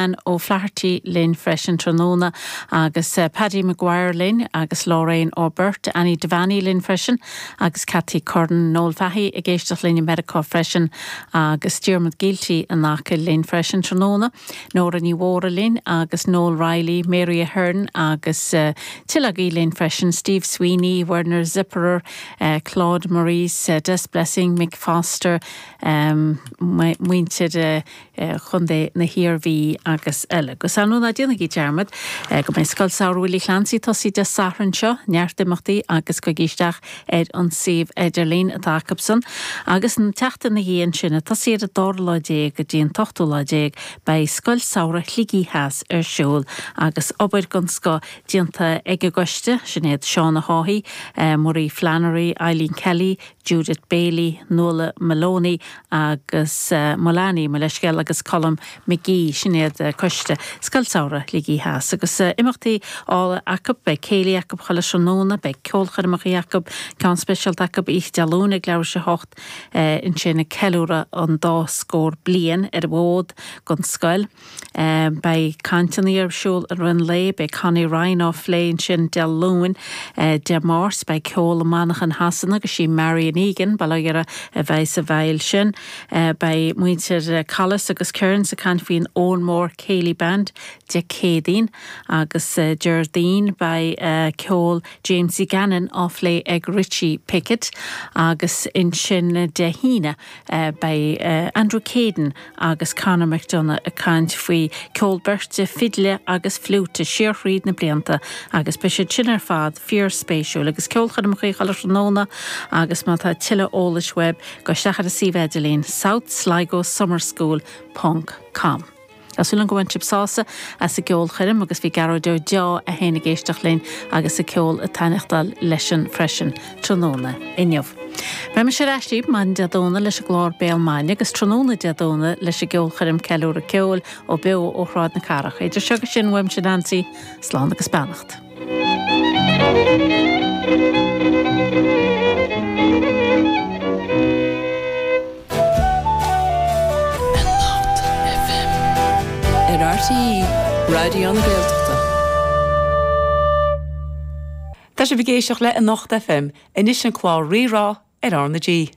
Ann O'Flaherty linn freisin tráthnóna agus Paddy Maguire linn agus Lorraine O'Burt, Annie Devaney linn freisin agus Cathy Curran, Noel Fahey ag éisteacht linn i Meiriceá freisin agus Diarmuid Gielty in Acaill linn freisin tráthnóna, Nóra Ní Mhórdha linn agus Noel Reilly, Mary Ahern agus tuilleadh agaibh linn freisin, Steve Sweeney, Werner Zipperer, Claude Maurice, Des Blessing, Mick Foster, muintir Chontae na hIarmhí agus eile. Agus ar ndóigh ná déanaigí dearmad go mbeidh Scoil Samhraidh Willie Clancy tosaithe Dé Sathairn seo, neart imeachtaí agus gabhaigí isteach ar an suíomh idirlín atá acusan. Agus an tseachtain ina dhiaidh ansin, ag tosaí ar an dara lá déag go dtí an t-ochtú lá déag, beidh Scoil Samhraidh Shligigh Theas ar siúl agus obair den scoth déanta ag an gcoiste, Sinéad Shauna Haughey, Marie Flannery, Eileen Kelly, Judith Bailey, Nuala Maloney agus Mullany, mo leithscéal, agus Colm McGee, sin iad coiste Scoil Samhraidh Shligigh Theas. Agus imeachtaí álainn acu, beidh céilí acu chuile tráthnóna, beidh ceolchoirmeacha acu, ceann speisialta acu oíche Dé Luain ag leathuair tar éis a hocht, ansin ag ceiliúradh an dá scór bliain ar an bhfód don scoil. Beidh cainteanna ar siúl i rith an lae, beidh Connie Ryan á phlé ansin Dé Luain. Dé Máirt beidh ceol i Manchain Shasana agus sí Marion Egan, bail ó Dhia uirthi, a bheidh sa bhfeighil sin. Beidh muintir Collis agus Kearns ag caint faoin Owenmore Céilí Band Dé Céadaoin agus Déardaoin beidh ceol Jamesie Gannon á phlé ag Richie Pickett agus ansin Dé hAoine beidh Andrew Caden agus Conor McDonagh ag caint faoi ceol beirte, fidle agus fliúite siar thríd na blianta agus beidh siad sin ar fad fíor spéisiúil agus ceolchoirmeacha chuile thráthnóna agus má tá tuilleadh eolais uaibh gabh isteach ar an suíomh idirlín southsligosummerschool ponc com. Tá súil agam go bhain sibh sásamh as an gceolchoirm agus bhí Gearóid Ó Deá é féin ag éisteacht linn agus an ceol ag taitneachtáil leisean freisin tráthnóna inniu. Beidh mise ar ais libh maidin Dé Domhnaigh leis an gclár Béal Maidine agus tráthnóna Dé Domhnaigh leis an gceolchoirm Ceiliúradh Ceoil ó beo ó Shráid na Cathrach. Idir seo agus sin uaimse Nancy, slán agus beannacht. Anocht FM. Ar RTÉ Raidió na Gaeltachta. Tá sibh ag éisteacht le Anocht FM, anois an clár Rí-Rá ar R na G.